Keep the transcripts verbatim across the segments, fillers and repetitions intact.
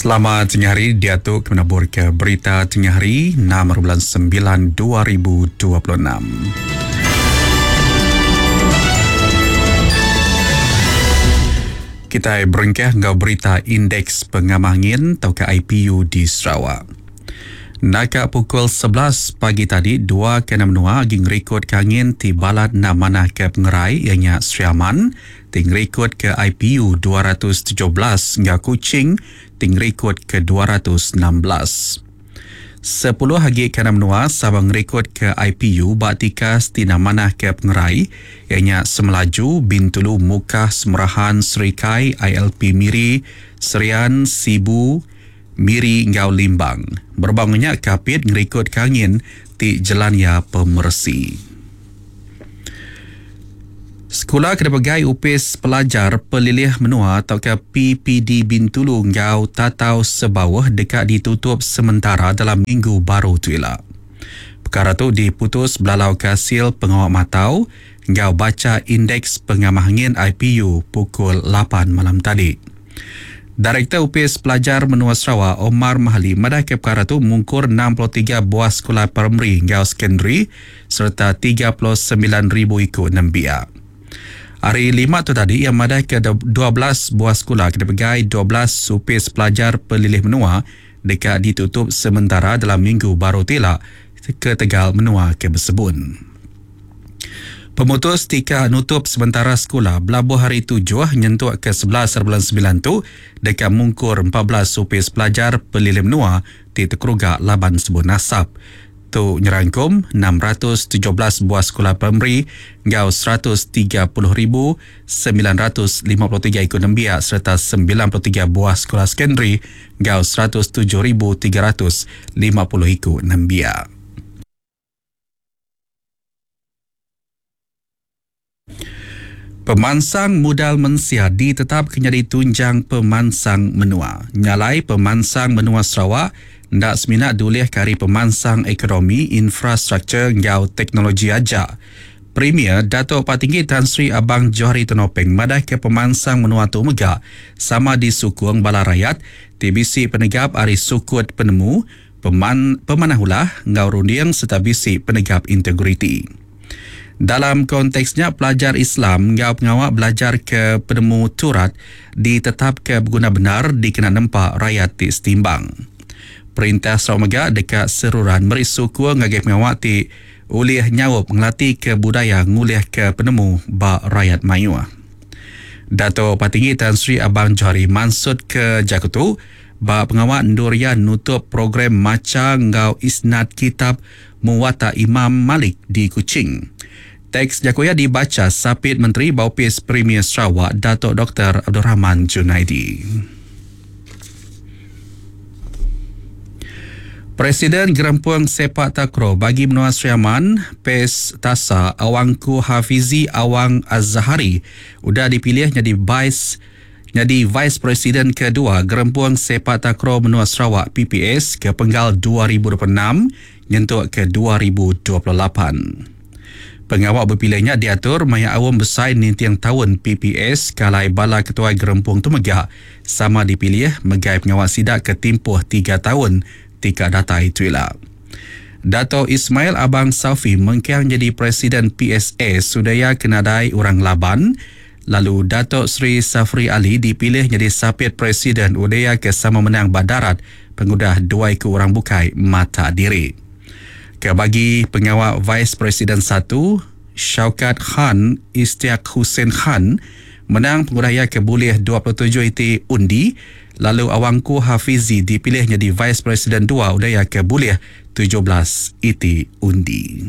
Selamat tengah hari, diatu kami nabur ke berita tengah hari enam bulan sembilan dua ribu dua puluh enam. Kita berengkah ngau berita Indeks Pengamah Angin atau ke I P U di Sarawak. Naka pukul sebelas pagi tadi, dua ke enam menua agi ngerikod ke angin ti balat nak manah ke pengerai ianya Sri Aman, ti ngerikod ke I P U dua ratus tujuh belas hingga Kuching ti ngerikod ke dua ratus enam belas. Sepuluh agi ke enam menua sama ngerikod ke I P U bak tikas ti nak manah ke pengerai ianya Semelaju, Bintulu, Mukah, Semerahan, Serikai, I L P Miri, Serian, Sibu, Miri ngau Limbang. Berbangnya Kapit ngerikod ke angin ti jelania pemersi. Sekolah kena pegai Upis Pelajar Pelilih Menua atau ke P P D Bintulu ngau Tatau Sebawah dekat ditutup sementara dalam minggu baru tu ila. Perkara tu diputus belalau hasil pengawal matau ngau baca indeks pengamah angin I P U pukul lapan malam tadi. Direktur Upis Pelajar Menua Sarawak Omar Mahali madah ke perkara tu mungkur enam puluh tiga buah sekolah primary ngau secondary serta tiga puluh sembilan ribu ikut nembiak. Hari lima tu tadi yang madah ke dua belas buah sekolah kena pegai dua belas Upis Pelajar Pelilih Menua dekat ditutup sementara dalam minggu baru tila ke Tegal Menua ke Bersebun. Pemutus tika nutup sementara sekolah belabuh hari tujuh nyentuk ke sebelas bulan sembilan tu dekat mungkur empat belas Upis Pelajar Pelilih Menua ti terkeruga laban sebut nasab. Tu nyerangkum enam ratus tujuh belas buah sekolah primary ngau seratus tiga puluh ribu sembilan ratus lima puluh tiga ikut nembiak serta sembilan puluh tiga buah sekolah secondary ngau seratus tujuh ribu tiga ratus lima puluh ikut nembiak. Pemansang modal mensia ditetap kenyadi tunjang pemansang menua. Nyalai pemansang menua Sarawak ndak semina dulih kari pemansang ekonomi, infrastruktur ngau teknologi aja. Premier Datuk Patinggi Tan Sri Abang Johari Tun Openg madah ke pemansang menua tu mega sama disukung bala rakyat T B C penegap ari sukut penemu, peman, pemanah ulah ngau runding serta bisi penegap integriti. Dalam konteksnya pelajar Islam ngau pengawak belajar ke penemu turat ditetap ke berguna benar dikena nempak rakyat ti setimbang. Perintah Sarawak mega dekat seruran meri suku ngagai pengawak ti ulih nyaup ngelati ke budaya ngulih ke penemu ba rakyat mayuh. Dato' Patinggi Tan Sri Abang Johari mansut ke Jakutu ba pengawak Nduria nutup program maca ngau isnad kitab Muwatta Imam Malik di Kuching. Teks Jakuya dibaca Sapit Menteri Baupis Premier Sarawak Dato' Doktor Abdul Rahman Junaidi. Presiden Gerempuang Sepak Takraw bagi Menua Sri Aman, P E S Tasa Awangku Hafizi Awang Azhari udah dipilih jadi Vice jadi Vice President kedua Gerempuang Sepak Takraw Menua Sarawak P P S ke penggal dua ribu dua puluh enam nyentuk ke dua ribu dua puluh lapan. Pengawal berpilihnya diatur maya awam besar nintiang tahun P P S kalai bala ketua gerempung tu megah sama dipilih megai pengawal sidak ke tempoh tiga tahun tika data itu ialah. Dato' Ismail Abang Safi mengkiang jadi Presiden P S A sudaya kenadai orang Laban, lalu Dato' Sri Safri Ali dipilih jadi Sapit Presiden Udaya ke sama menang Badarat pengudah dua ikut orang bukai mata diri. Bagi pengawal Vice Presiden satu, Shaukat Khan Istiaq Hussein Khan menang penguraya ke boleh dua puluh tujuh iti undi, lalu Awangku Hafizi dipilih jadi Vice Presiden dua udaya ke boleh tujuh belas iti undi.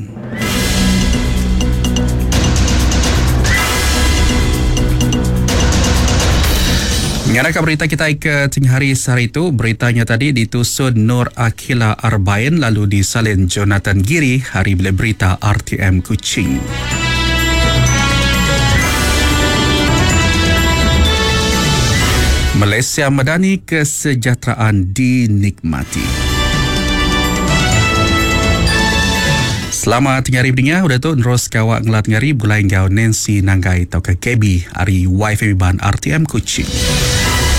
Mengarahkan berita kita ke tengah hari sehari itu, beritanya tadi ditusun Nur Akila Arbain lalu disalin Jonathan Giri, hari bila berita R T M Kuching. Malaysia Madani, kesejahteraan dinikmati. Selamat tengah hari pendengar, udah tu terus kawak ngelat ngari bulai ngau Nancy Nanggai atau ke K B hari Y F M Ban R T M Kuching.